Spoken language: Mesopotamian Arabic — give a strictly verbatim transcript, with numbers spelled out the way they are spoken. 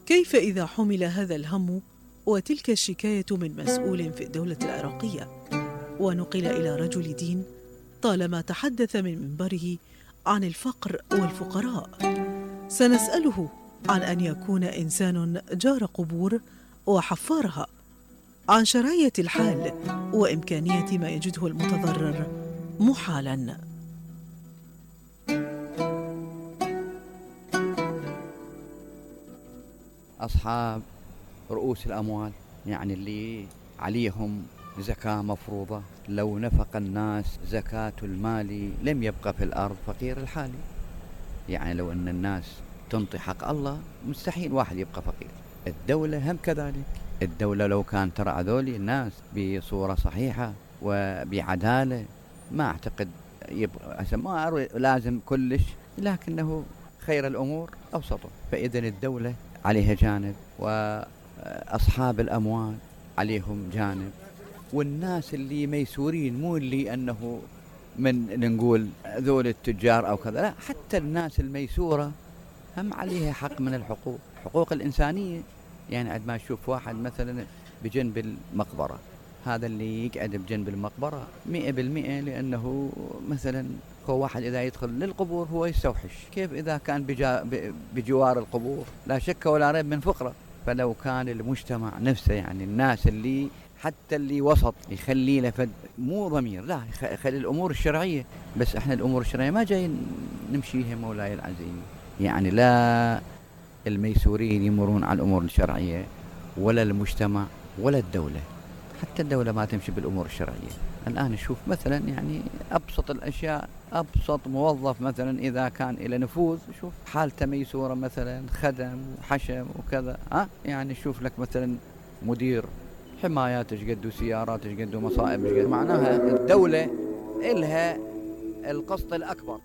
كيف إذا حمل هذا الهم وتلك الشكاية من مسؤول في الدولة العراقية ونقل إلى رجل دين طالما تحدث من منبره عن الفقر والفقراء؟ سنسأله عن أن يكون إنسان جار قبور وحفارها، عن شراية الحال وإمكانية ما يجده المتضرر محالا. أصحاب رؤوس الأموال، يعني اللي عليهم زكاة مفروضة، لو نفق الناس زكاة المال لم يبقى في الأرض فقير الحالي. يعني لو أن الناس تنطي حق الله مستحيل واحد يبقى فقير. الدولة هم كذلك. الدولة لو كان ترى ذولي الناس بصورة صحيحة وبعدالة ما أعتقد يبقى ما لازم كلش، لكنه خير الأمور أوسطه. فإذا الدولة عليها جانب وأصحاب الأموال عليهم جانب، والناس اللي ميسورين، مو اللي أنه من نقول ذول التجار أو كذا، لا، حتى الناس الميسورة هم عليها حق من الحقوق، حقوق الإنسانية. يعني عندما أشوف واحد مثلا بجنب المقبرة، هذا اللي يقعد بجنب المقبرة مئة بالمئة لأنه مثلا هو واحد إذا يدخل للقبور هو يستوحش، كيف إذا كان بجا بجوار القبور؟ لا شك ولا ريب من فقرة. فلو كان المجتمع نفسه، يعني الناس اللي حتى اللي وسط يخلي له فد مو ضمير، لا يخلي الأمور الشرعية، بس احنا الأمور الشرعية ما جايين نمشيها مولاي العزيز. يعني لا الميسورين يمرون على الأمور الشرعية ولا المجتمع ولا الدولة، حتى الدولة ما تمشي بالأمور الشرعية. الآن نشوف مثلا يعني أبسط الأشياء، أبسط موظف مثلا إذا كان إلى نفوذ شوف حالته ميسورة، مثلا خدم وحشم وكذا، ها يعني شوف لك مثلا مدير حمايات ايش قد وسيارات ايش قد ومصائب ايش قد. معناها الدولة إلها القسط الأكبر.